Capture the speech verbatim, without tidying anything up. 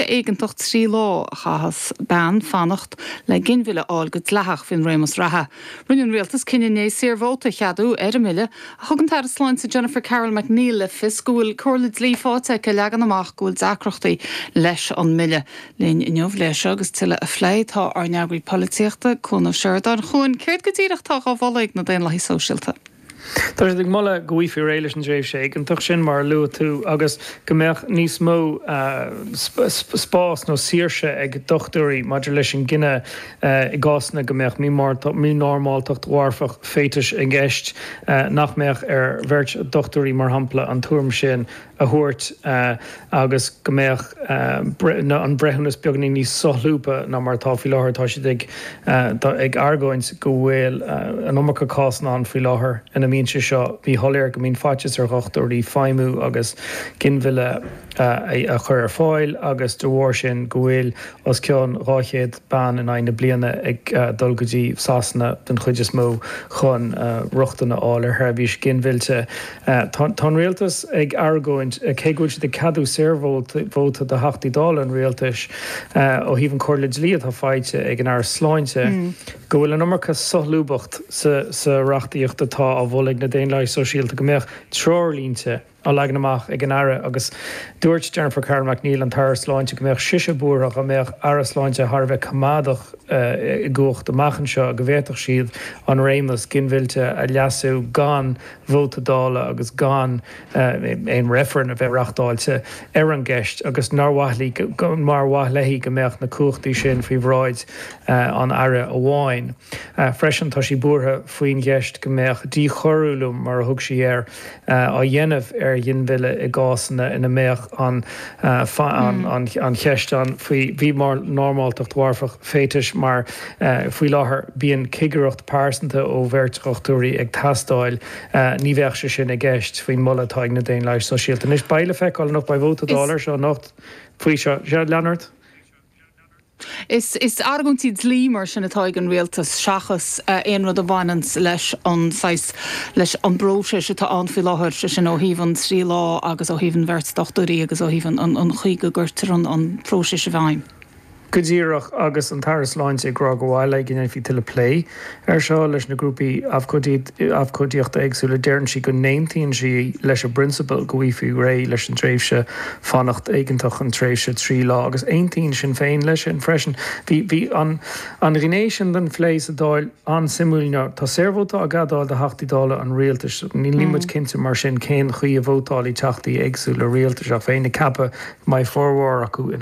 éigeantach trí lá a chaithfeas bean fanacht le ginmhilleadh a fháil go dleathach faoin réimeas reatha. Rinne an rialtas cinneadh inné saorvóta a cheadú ar an mbille ach thug an tAire Sláinte Jennifer Carroll MacNeill le fios go bhfuil comhairle dlí faighte aici leagan amach go bhfuil deacrachtaí leis an mbille. Linn inniu leis seo agus tuilleadh a phlé tá ár n-eagraí polaitíochta Cuan Ó Seireadáin. A Chuain, céard go díreach atá á mholadh ag na Daonlathaigh Sóisialta. Tá siad ag moladh go bhfaighfí réidh leis an dtréimhse éigeantach sin mar a luaigh tú agus go mbeadh níos mó spás nó saoirse ag dochtúirí maidir leis an gcinneadh i gcásanna go mbeadh mínormáltacht mharfach féatais i gceist, nach mbeadh ar bheirt dochtúirí mar shampla an tuairim sin a thabhairt agus go mbeadh an breithiúnas beagáinín níos solúbtha ná mar atá faoi láthair. Tá siad ag ag argóint go bhfuil an iomarca cásanna ann faoi láthair ina mbíonn sé seo míshoiléir, go mbíonn faitíos ar dhochtúirí feidhmiú agus ginmhilleadh a chur ar fáil agus de bharr sin go bhfuil os cionn dhá chéad bean in aghaidh na bliana ag dul go dtí Sasana den chuid is mó chun rochtain a fháil ar sheirbhís ginmhillte. Tá an rialtas ag argóint, cé go bhfuil siad ag ceadú saorvóta do Theachtaí Dála an rialtais ó thaobh an chomhairle dlí atá faighte ag an Aire Sláinte, go bhfuil an iomarca solúbthacht sa reachtaíocht atá á mholadh ag na Daonlathaigh Sóisialta, go mbeadh treoirlínte á leagan amach ag an Aire agus dúirt Jennifer Carroll MacNeill, an tAire Sláinte, go mbeadh sise buartha dá mbeadh Aire Sláinte thar a bheith coimeádach i gcumhacht amach anseo go bhféadfadh siad an réimeas ginmhillte a leasú gan vóta Dála agus gan aon reifreann a bheith reachtáilte ar an gceist agus nár mhaith léi go mbeadh na cumhachtaí sin faoi bhráid an Aire amháin. Freisin tá sí buartha faoin gceist go mbeadh díchoiriúlú, mar a thug sí air, á dhéanamh ar ghinmhilleadh i gcásanna ina mbeadh an an cheist ann faoi mhínormáltacht mharfach féatais mar faoi láthair bíonn cigireacht pearsanta ó bheirt dhochtúirí ag teastáil. Ní bheadh sé sin i gceist faoin moladh atá ag na Daonlathaigh Sóisialta. Anois beidh le feiceáil anocht, beidh vóta Dála ar seo anocht faoi seo. Sea, lean ort. Is is argóintí dlí mar sin atá ag an rialtas seachas aon rud a bhaineann leis an saghas leis an bpróiseas atá ann faoi láthair, sé sin ó thaobh an trí lá agus ó thaobh an bheirt dochtúirí agus ó thaobh an an chaoi go gcuirtear an an próiseas i bhfeidhm. Go díreach, agus an tAire Sláinte ag rá gur mhaith léi go ndéanfaí tuilleadh plé air seo leis na grúpaí abhcóideachta éagsúla, deireann sí go n-aontaíonn sí leis an bprionsabal go bhfaighfí réidh leis an tréimhse fanacht éigeantach, an tréimhse trí lá, agus aontaíonn Sinn Féin leis sin freisin. Bhí bhí an an ghné sin den phlé sa Dáil an-suimiúil. Tá saorvóta á gceadáil do Theachtaí Dála an rialtais. Níl muid cinnte mar sin cén chaoi a vótálfaidh teachtaí éagsúla rialtais ach bheinn ag ceapadh go mbeidh formhór acu ina